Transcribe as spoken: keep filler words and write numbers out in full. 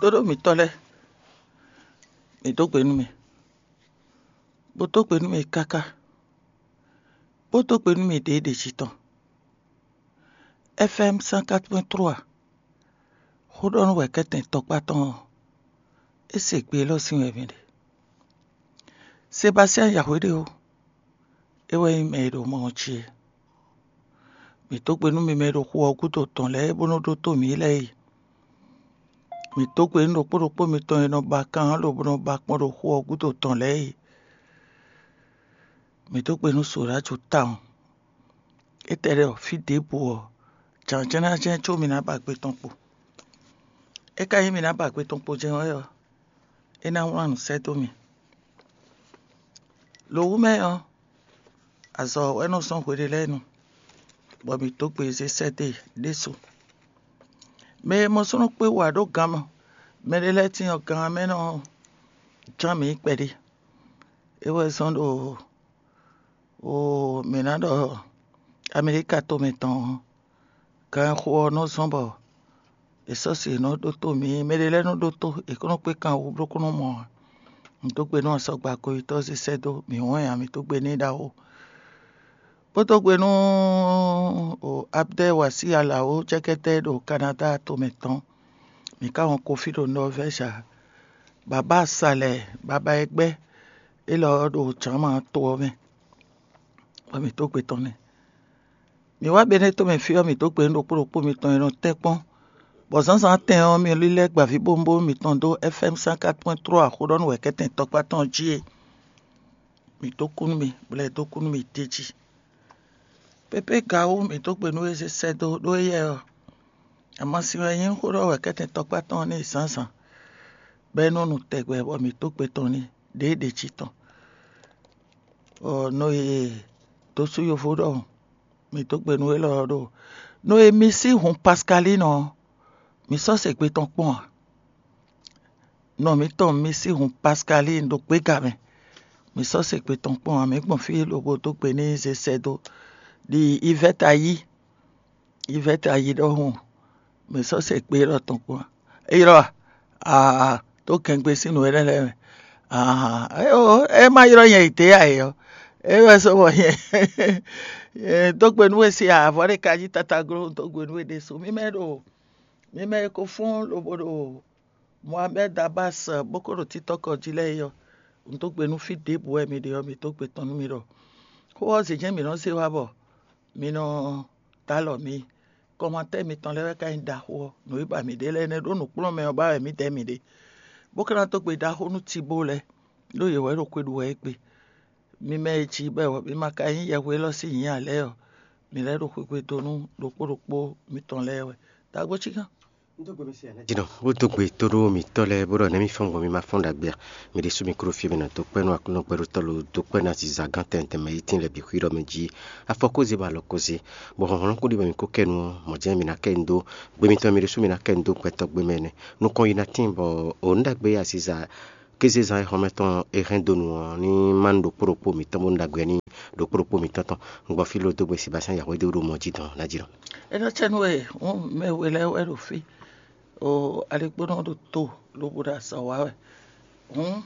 Tóɖó mǐtɔn lɛ́ɛ, mǐ dó gbe nú mì, bó dó gbe nú mì káká, bó dó gbe nú mì ɖěɖě jí tɔn. F M cent quatre point trois, xó ɖɔ nú wɛ̌kɛ́tɛn tɔkpá tɔn ɔ́, é se gbe élɔ́ sín wɛ mǐ ɖe. Sebastian Yahweh ɖe ó, é wɛ nyí mɛ e ɖo mɔ ɔ́ jí é. Mǐ dó gbe nú mi mɛ e ɖo xu ɔ́ gúdo tɔn lɛ́ɛ bó nɔ́ ɖótó mǐ lɛ́ɛ e. Mǐ dó gbe nú ɖokpó ɖokpó mitɔn e nɔ ba kan ɔ́ lobo nɔ ba kpɔ́n ɖo xu ɔ́ gúdo tɔn lɛ́ɛ e. Mǐ dó gbe nú Soɖáju tawun. Étɛ́ lɛ́ɛ ɔ́, fí ɖěbǔ ɔ́, jǎnjɛ́nnájɛ́n có mǐ ná ba gbe tɔn kpo. É ka nyí mǐ ná ba gbe tɔn kpo jɛ́n wɛ ɔ́, é ná wlán nǔ sɛ́ dó mì. Lo wú mɛ ɔ́, azɔ̌ wɛ nɔ zɔ́n hwe ɖé lɛ́ɛ nu, bɔ mǐ dó gbe zé sɛ́ dó e ɖésú. Mɛ e mɔ súnnu kpé wú ǎ ɖó gan mɔ, mɛɖé lɛ́ɛ cyɔ́n gan ɔ́ mɛ nɔ ján mǐ kpɛɖé. É wɛ zɔ́n ɖo, o mǐ ná ɖɔ Amelíka tomɛ tɔn ɔ́, ganxixo ɔ́ nɔ zɔ́n bɔ è sɔ́ si è nɔ ɖótó mǐ. Mɛɖé lɛ́ɛ nɔ ɖótó, è kó nɔ kpé kan wú bó kó nɔ mɔ ǎ. Un dó gbe nú asɔgba goyítɔ́ zé sɛ́ dó mǐ wɛn ǎ, mǐ dó gbe n'i ɖaxó. Bó dó gbe nú Abdɛ́ Wasí Alawó cɛ́kɛ́tɛ́ ɖo Kanáda tomɛ tɔn. Mǐ ka wɔn kofí ɖo Nɔvɛ́zi ǎ. Baba Salɛ, baba e gbɛ́ élɔ́ ɔ́ ɖo Jǎma to ɔ́ mɛ, bɔ mǐ dó gbe tɔn n'i. Mǐ wá Benɛ́ tomɛ fí ɔ́, mǐ dó gbe nú ɖokpó ɖokpó mitɔn e nɔ tɛ́nkpɔ́n, bɔ zǎnzǎn tɛn ɔ́, mi lílɛ́ gbavíbówúnbówún mitɔn dó F M cent quatre point trois xó ɖɔ nú wɛ̌kɛ́tɛn tɔkpá tɔn jí e. Mǐ dó kú nú mi, bɔ è dó kú nú mi d'é jí. Pépé Gawú, mǐ dó gbe nú we zé sɛ́ dó ɖó éyɛ́ ɔ́, amasin wɛ nyí xó ɖɔ wɛ̌kɛ́tɛn tɔkpá tɔn n'i zǎnzǎn, bɔ é nɔ nu tɛgbɛ bɔ mǐ dó gbe tɔn n'i ɖěɖě jí tɔn. Bɔ nɔ e dó sú yovo ɖɔhun, mǐ dó gbe nú élɔ́ ɔ́ ɖo nɔ e mi sí hun Paskalín ɔ́, mi sɔ́ se gbe tɔn kpɔ́n ǎ. Nɔ mǐtɔn mi sí hun Paskalín ɖo gbéga mɛ, mi sɔ́ se gbe tɔn kpɔ́n ǎ. Mǐ gbɔn fí lobo dó gbe n'i zé sɛ́ dó ɖi Ivɛ́ta yí. Ivɛ́ta yí ɖɔhun, mǐ sɔ́ se gbe élɔ́ tɔn kpɔ́n ǎ. É ylɔ́ a? Aa, tó kɛngbe sín nǔ énɛ́ lɛ́ɛ mɛ. Aa, é ó, é má ylɔ́ nyɛ yi dě ǎ é ɔ́, é wɛ sɔ́ bɔ nyɛ dó gbe nú we se avɔ ɖé ka jí tatagló dó gbe nú we ɖésú. Mí mɛ ɖo mí mɛ e ko fɔ́n lobo ɖo Mohamed Abbas bó ko ɖo títɔ́kɔ jí lɛ́ɛ é ɔ́, un dó gbe nú fí ɖěbǔ wɛ mi ɖe ɔ́, mi dó gbe tɔn nú mi ɖɔ xó ɔ́ zě jɛ́n mǐ nɔ zé wá bɔ mi nɔ dó alɔ mi. Kɔmatɛ́ mitɔn lɛ́ɛ wɛ ka nyí ɖaxó ɔ́, nǔ e ba mǐ ɖe lɛ́ɛ nɛ́ ɖó nǔkplɔ́nmɛ ɔ́ ba wɛ mǐdɛɛ mǐ ɖe, bó ka ná dó gbe ɖaxó nú Tibó lɛ́ɛ, ɖó yě wɛ ɖo xwe ɖu wɛ égbé. Mi mɛ e jí bɔ mi ma ka nyí yɛhwe élɔ́ sín nyǐ ǎ lɛ́ɛ ɔ́, mi lɛ́ ɖo xwegbe dó nú ɖokpó ɖokpó mitɔn lɛ́ɛ wɛ. Dǎgbó cí gán. Jino, bó dó gbe tó ɖó mǐtɔn lɛ́ɛ bó ɖɔ nɛ̌ mi fɔ́n gbɔn mi ma fɔ́n ɖagbe a? Mi ɖésú mi kúɖó fí e mi nɔ dó kpɛ́ nú Aklúnɔ gbɛɖótɔ́ lo dó kpɛ́ nú aziza gán tɛntɛn mɛ yi tín lɛ́ɛ bǐ xwíɖɔ mɛ jí. Afɔ kó zé bɔ alɔ kó zé, bɔ hlɔ̌nhlɔ́n kó ɖi bɔ mi kó kɛ nu ɔ́, mɔ̌ jɛ́n mi ná kɛ nu dó gbe mitɔn mi ɖésú mi ná kɛ nu dó gbɛtɔ́ gbe mɛ nɛ́. Nukɔn yi ná tíin bɔ o nǔ ɖagbe e aziza kézezán e xɔmɛ tɔn e hɛn dó nu ɔ́ ní má nú ɖokpó ɖokpó mǐtɔn bónú ɖagbe ɔ́ ní ɖokpó ɖokpó mǐtɔn tɔn. Un gbɔ fí ló dó gbe Sebastien Yahweh dó ɖo mɔ jí dɔn ná jí nɔ. É nɔ cɛ nú we hǔn mɛ we lɛ́ɛ wɛ ɖo fí, o aligbónɔ ɖo to lobo ɖo azɔ̌ wa wɛ hǔn